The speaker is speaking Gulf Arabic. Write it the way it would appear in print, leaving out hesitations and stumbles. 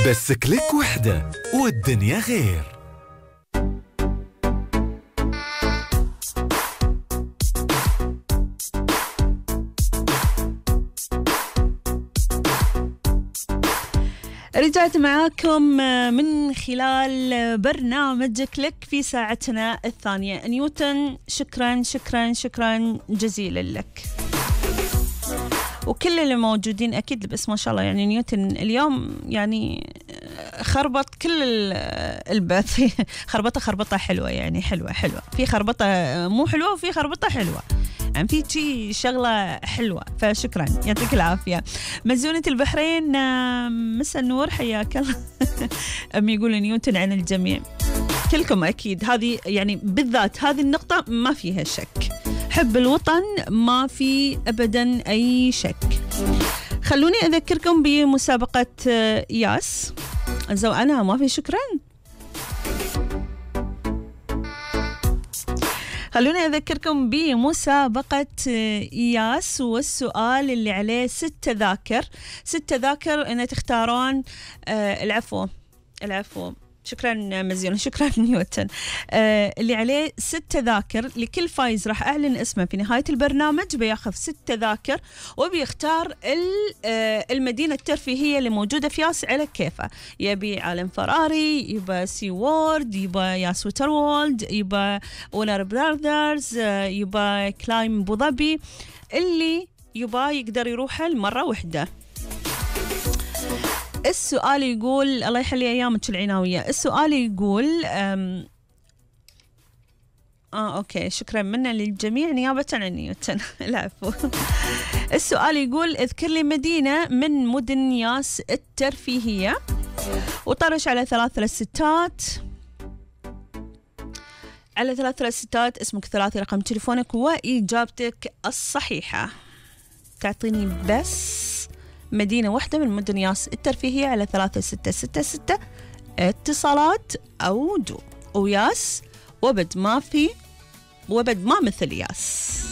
بس كليك وحدة والدنيا غير. رجعت معاكم من خلال برنامج كليك في ساعتنا الثانية. نيوتن، شكرا شكرا شكرا جزيلا لك، وكل اللي موجودين أكيد بس ما شاء الله. يعني نيوتن اليوم يعني خربط كل البث خربطة حلوة، يعني حلوة في خربطة مو حلوة وفي خربطة حلوة، يعني في شي شغلة حلوة، فشكرا يعطيك العافية. مزونة البحرين، مساء النور، حياك الله. أمي يقول نيوتن عن الجميع، كلكم أكيد. هذه يعني بالذات هذه النقطة ما فيها شك، حب الوطن ما في أبدا أي شك. خلوني أذكركم بمسابقة ياس زوأنا ما في شكرا. خلوني أذكركم بمسابقة ياس، والسؤال اللي عليه 6 تذاكر إن تختارون. العفو شكرا مزيون، شكرا نيوتن. اللي عليه 6 تذاكر، لكل فايز راح أعلن اسمه في نهاية البرنامج، بياخذ 6 تذاكر وبيختار المدينة الترفيهية اللي موجودة في ياس على كيفه. يبي عالم فراري، يبقى سي وورد، يبقى ياس ووتر وولد، يبقى ونر براذرز، يبقى كلايم أبو ظبي، اللي يبقى يقدر يروحه المرة واحدة. السؤال يقول، الله يحلي أيامك العناوية، السؤال يقول أوكي شكرا منا للجميع نيابة عن نيوتن. العفو. السؤال يقول اذكر لي مدينة من مدن ياس الترفيهية، وطرش على 3 ستات، على 3 ستات، اسمك 3 رقم تليفونك وإجابتك الصحيحة. تعطيني بس مدينة واحدة من مدن ياس الترفيهية على 3666 اتصالات أو وياس وبد ما مثل ياس.